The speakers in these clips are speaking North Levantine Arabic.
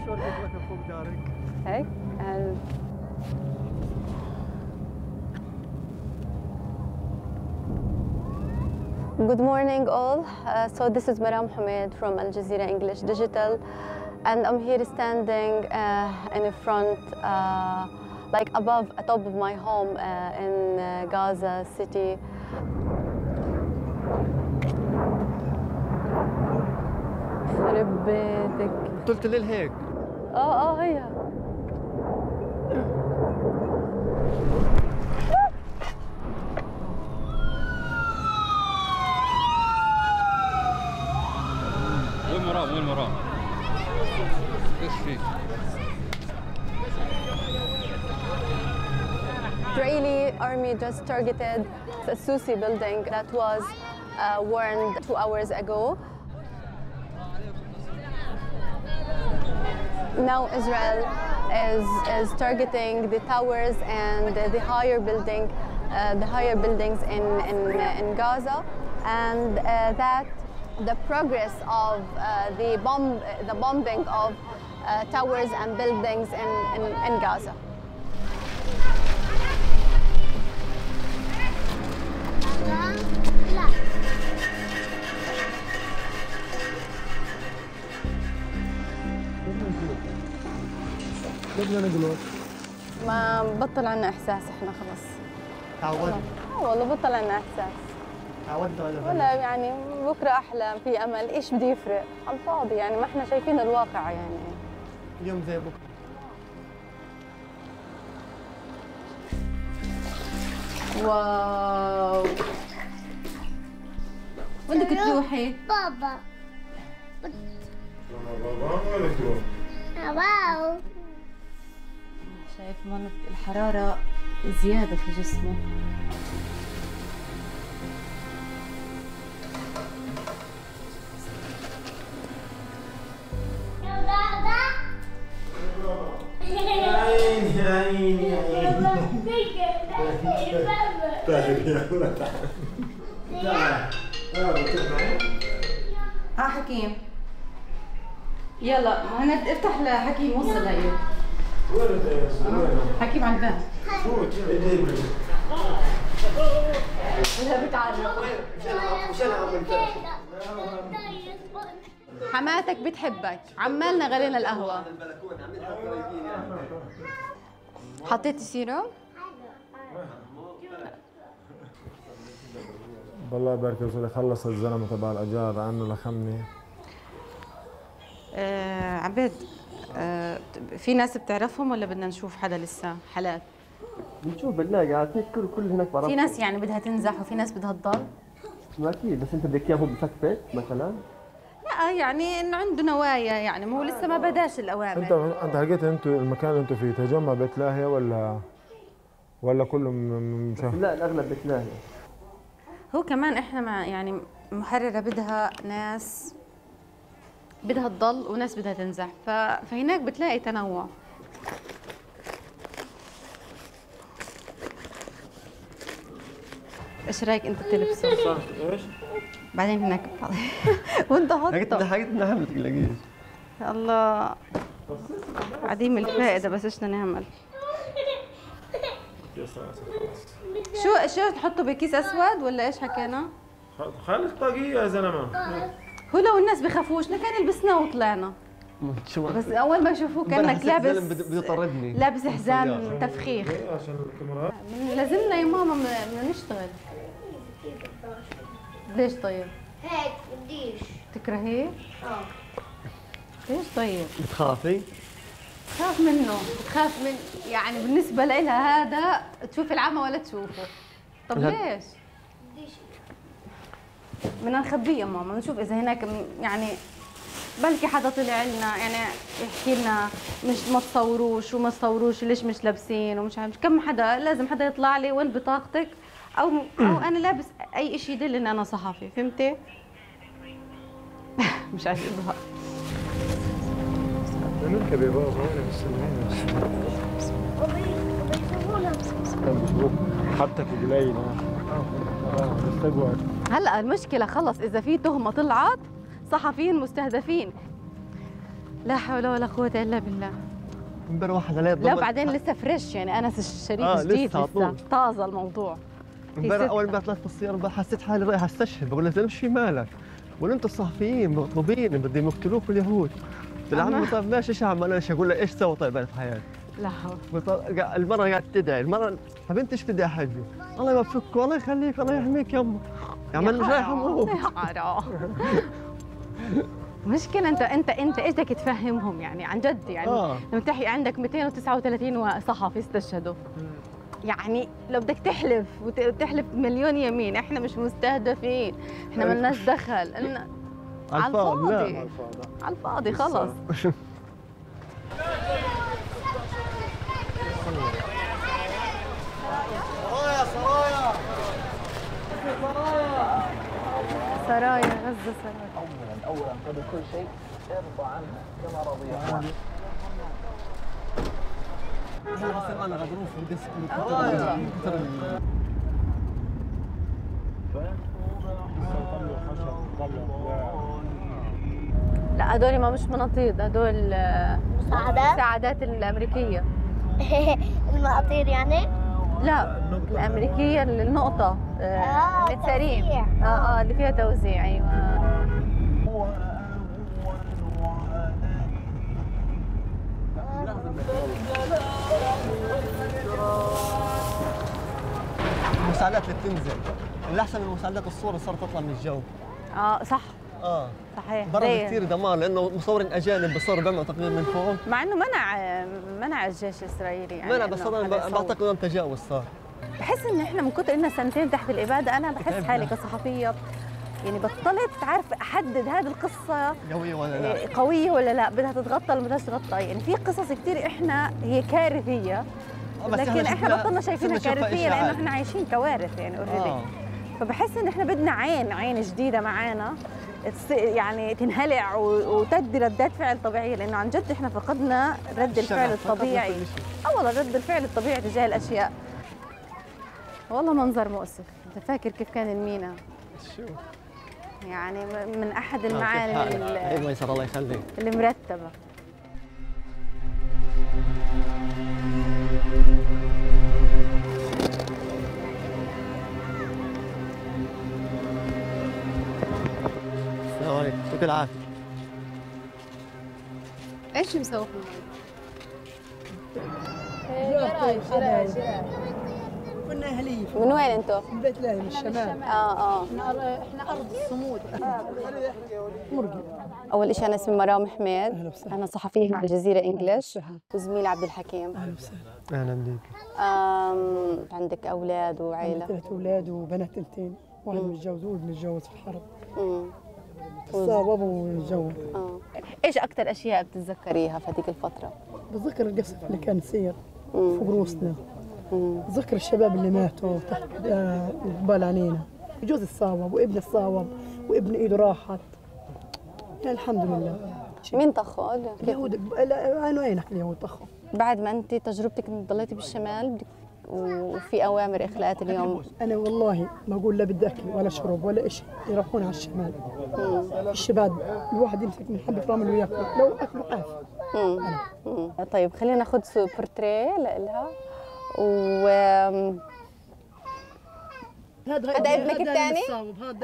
شو لقيت لك فوق دارك؟ هيك Good morning all. So this is Maram Hamed from Al Jazeera English Digital, and I'm here standing in front, like above, top of my home in Gaza City. خرب بيتك. طلت الليل هيك. هي. وين مرام؟ ايش فيك؟ Israeli army just targeted the Susi building that was warned 2 hours ago. Now Israel is targeting the towers and the higher buildings in Gaza, and that the progress of the bombing of towers and buildings in Gaza. ليش بدنا نقول؟ ما بطل عنا احساس احنا خلص. تعودنا. والله بطل عنا احساس. تعودنا على ولا يعني بكره احلى، في امل، ايش بده يفرق؟ على الفاضي يعني، ما احنا شايفين الواقع يعني. اليوم زي بكره. واو. وين بدك تروحي؟ بابا. واو. شايف منطقة الحرارة زيادة في جسمه. ها حكيم، يلا هند افتح لحكيم، وصل هي. حكيم على الباب. ولا بتعرف. حماتك بتحبك، عمالنا غلينا القهوة. حطيتي سيروم؟ بالله يبارك فيك، خلص الزلمه تبع الاجار عنه لخمني. عبيد، في ناس بتعرفهم ولا بدنا نشوف حدا لسه حالات؟ بنشوف بنلاقي عاد هيك كل هناك بعرف. في ناس يعني بدها تنزح وفي ناس بدها تضل؟ ما اكيد، بس انت بدك اياه هو بفكفك مثلا؟ لا يعني انه عنده نوايا يعني، مو لسه ما بداش الاوامر. انت حكيت انتوا المكان اللي انتوا فيه تجمع بيت لاهيه ولا كله لا الاغلب بيت لاهيه. هو كمان احنا مع يعني محرره بدها ناس بدها تضل وناس بدها تنزح، فهناك بتلاقي تنوع. ايش رايك انت تلبسه؟ ايش؟ بعدين هناك وانت حطه. حقيقة حمل تلاقيه. الله عديم الفائده، بس ايش بدنا نعمل؟ شو تحطه بكيس اسود ولا ايش حكينا؟ خليك طاقية يا زلمه. هو لو الناس بخافوش لكان لبسنا وطلعنا. بس اول ما يشوفوك كانك لابس بده يطردني، لابس حزام تفخيخ. عشان الكاميرا لازمنا يا ماما بدنا نشتغل. ليش طيب؟ هيك بديش. تكرهيه؟ ليش طيب؟ بتخافي؟ تخاف منه، تخاف من يعني بالنسبة لها هذا تشوف العمى ولا تشوفه. طب ليش؟ بدنا نخبيه يا ماما، نشوف إذا هناك يعني بلكي حدا طلع لنا يعني يحكي لنا مش ما تصوروش وما تصوروش ليش مش لابسين ومش عارف كم حدا، لازم حدا يطلع لي وين بطاقتك أو أنا لابس أي شيء يدل إن أنا صحفي، فهمتي؟ مش عايز إظهار. نركب يا بابا وانا مستنيين. بيشوفوك حطك قليل. هلا المشكلة خلص إذا في تهمة طلعت صحفيين مستهدفين. لا حول ولا قوة إلا بالله. امبارح واحد عليه لا بعدين لسه فريش يعني أنس الشريف جديد لسه لسه طازة الموضوع. امبارح اول ما طلعت بالسياره حسيت حالي رايح استشهد، بقول له زلمه شو مالك؟ بقول انتم الصحفيين مطلوبين بدهم يقتلوكم اليهود. قلت له عمي طيب ماشي ايش اعمل انا؟ ايش اقول له ايش سوى طيب انا في حياتي؟ لا حول. المرة قاعدة تدعي، المرة حبيبتي ايش بدي احكي؟ الله يوفقك والله يخليك الله يحميك يمه. يا عم انا مش رايح اموت. مشكلة انت ايش بدك تفهمهم يعني عن جد يعني لما تحكي عندك 239 صحفي استشهدوا يعني لو بدك تحلف وتحلف مليون يمين احنا مش مستهدفين، احنا ما لناش دخل على الفاضي على الفاضي خلص. سرايا غزة سرايا. اولا قبل كل شيء ارضى عنها كما رضي عنها. انا غضروف لا هدول ما مش مناطيد، هدول مساعدات الامريكيه. المقاطير يعني؟ لا الامريكيه النقطه متسارين اللي فيها توزيع. ايوه المساعدات اللي بتنزل اللي احسن من مساعدات الصوره صارت تطلع من الجو. صح صحيح. ضرب كثير دمار لانه مصورين اجانب بصوروا بيعملوا تقرير من فوق، مع انه منع الجيش الاسرائيلي يعني منع بس انا بعتقد انه تجاوز صار. بحس ان احنا من كثر اننا سنتين تحت الاباده انا بحس حالي كصحفيه يعني بطلت عارف احدد هذه القصه قويه ولا لا، قويه ولا لا، بدها تتغطى ولا بدها تتغطى. يعني في قصص كثير احنا هي كارثيه لكن احنا بطلنا شايفينها كارثيه لانه احنا عايشين كوارث يعني اوريدي. فبحس ان احنا بدنا عين جديده معانا يعني تنهلع وتدي ردات فعل طبيعيه، لانه عن جد احنا فقدنا رد الفعل الطبيعي. والله رد الفعل الطبيعي تجاه الاشياء. والله منظر مؤسف. انت فاكر كيف كان المينا؟ شو يعني من احد المعالم ايوه يسر الله يخليك المرتبه. السلام عليكم، يعطيك العافيه. ايش مسوي؟ كنا اهليه. من وين انتم؟ من بيت لاهي من الشمال. احنا ارض الصمود. مرقي. اول شيء انا اسمي مرام حميد، انا صحفيه على الجزيره انجلش، وزميلي عبد الحكيم. اهلا وسهلا. اهلا بك. عندك اولاد وعائله؟ عندي 3 اولاد وبنات 2، واحد متجوز وابن متجوز في الحرب. صار ابو متجوز. ايش اكثر اشياء بتتذكريها في هذيك الفتره؟ بتذكر القصف اللي كان يصير فوق روسنا. بتذكر الشباب اللي ماتوا تحت قبال عينينا. جوزي الصاوب وابني الصاوب وابن ايده راحت. يعني الحمد لله. مين طخوا؟ اليهود انا وينك اليهود طخوا. بعد ما انت تجربتك انك ضليتي بالشمال وفي اوامر اخلاءات اليوم، انا والله ما اقول لا بدي اكل ولا شرب ولا شيء، يروحون على الشمال. الشباب الواحد يمسك من حبه رامل وياكل لو اكلوا عافيه. طيب خلينا ناخذ بورتريه لها. هذا ابنك الثاني؟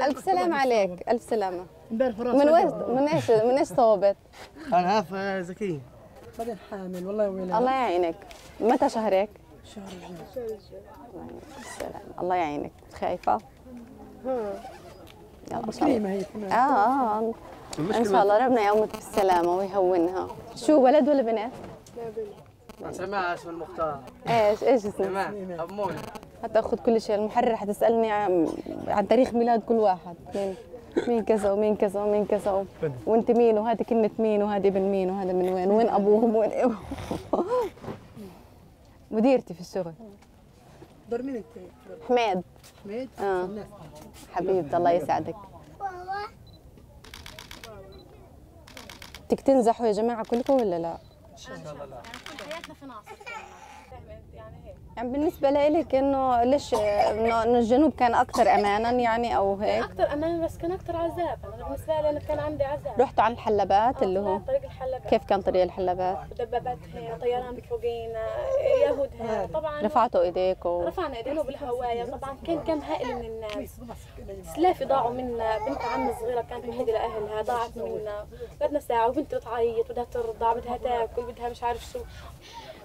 الف سلامة عليك. الف سلامة. من ايش صوبت؟ انا عارف زكية. بعدين حامل والله ويلي. الله يعينك. متى شهرك؟ شهر السلام. الله يعينك. خايفة؟ يلا كريمة هي كمان. ان شاء الله ربنا يقومك بالسلامة ويهونها. شو ولد ولا بنت؟ لا بنت. سماها اسم المختار. ايش اسمه؟ سماها أمون. هتاخذ كل شيء. المحرر حتسألني عن تاريخ ميلاد كل واحد. مين كذا ومين كذا ومين كذا وانت مين وهذه كلمة مين وهذه ابن مين وهذا من وين ابوهم وين ابوهم. مديرتي في الشغل. دور مين انت؟ حميد. حميد؟ حبيبتي الله يسعدك. بدك تنزحوا يا جماعة كلكم ولا لا؟ ان شاء الله لا. حياتنا في ناصر. يعني بالنسبة لإلك إنه ليش إنه الجنوب كان أكثر أماناً يعني أو هيك؟ أكثر أمان بس كان أكثر عذاب. أنا بالنسبة لي أنا كان عندي عذاب. رحتوا على الحلبات اللي هو طريق الحلبات. كيف كان طريق الحلبات؟ دبابات هي، طيران بفوقينا، يهود هي. طبعا رفعتوا إيديكم؟ رفعنا إيدينا بالهواية. طبعا كان كم هائل من الناس. سلافي ضاعوا منا، بنت عمي الصغيرة كانت وحيدة لأهلها ضاعت منا. قعدنا ساعة وبنتي بتعيط بدها ترضع بدها تاكل بدها مش عارف شو.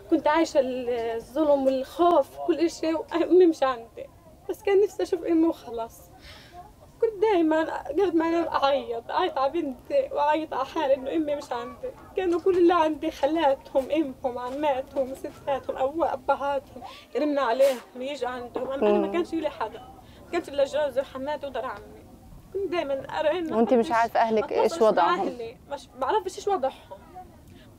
كنت عايشة الظلم والخوف كل شيء وأمي مش عندي. بس كان نفسي أشوف أمي وخلاص. كنت دائما قد ما أنا أعيط على بنتي وأعيط على حالي إنه أمي مش عندي. كانوا كل اللي عندي خالاتهم أمهم عماتهم ستاتهم أبهاتهم يرنوا عليهم يجوا عندهم. أنا ما كانش لي حدا، ما كانش إلا جوزي وحماتي ودار عمي. كنت دائما أرن. وأنت مش عارفة أهلك إيش وضعهم؟ مش بعرفش إيش وضعهم.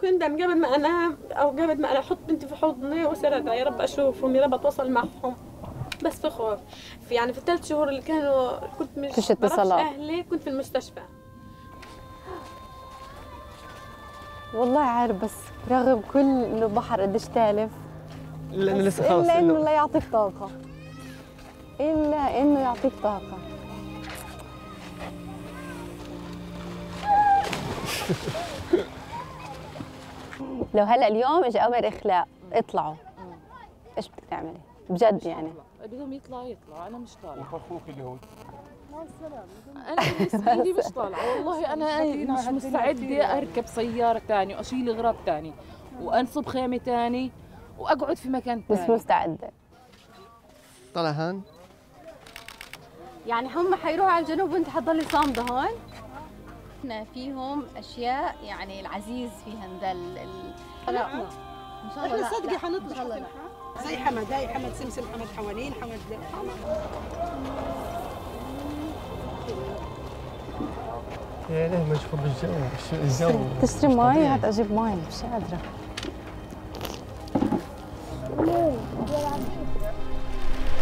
كنت دائما قبل ما أنام أو قبل ما أنا أحط بنتي في حضني وأصير أدعي يا رب أشوفهم يا رب أتواصل معهم. بس في خوف. يعني في الثلاث شهور اللي كانوا كنت مش بعرفش أهلي كنت في المستشفى. والله عارف بس رغم كل إنه البحر قديش تالف إلا إنه لسه خلص إلا إنه لا يعطيك طاقة. إلا إنه يعطيك طاقة. لو هلا اليوم اجى امر اخلاء اطلعوا ايش بدك تعملي؟ بجد يعني بدهم يطلعوا انا مش طالعه. وخوفك اليهود انا بالنسبه لي مش طالعه والله. انا مش مستعده اركب سياره ثانيه واشيل اغراض ثاني وانصب خيمه ثاني واقعد في مكان ثاني. مش مستعده. طلع هان يعني هم حيروحوا على الجنوب وانت حتضلي صامده هون؟ احنا فيهم اشياء يعني العزيز فيها ندل لا ان شاء الله. احنا صدقي حنطلع زي حمد، هاي حمد سمسم، حمد حوالين، حمد يا ليه مشغول بالجو. الجو تشتري مي؟ هات اجيب مي مش قادره.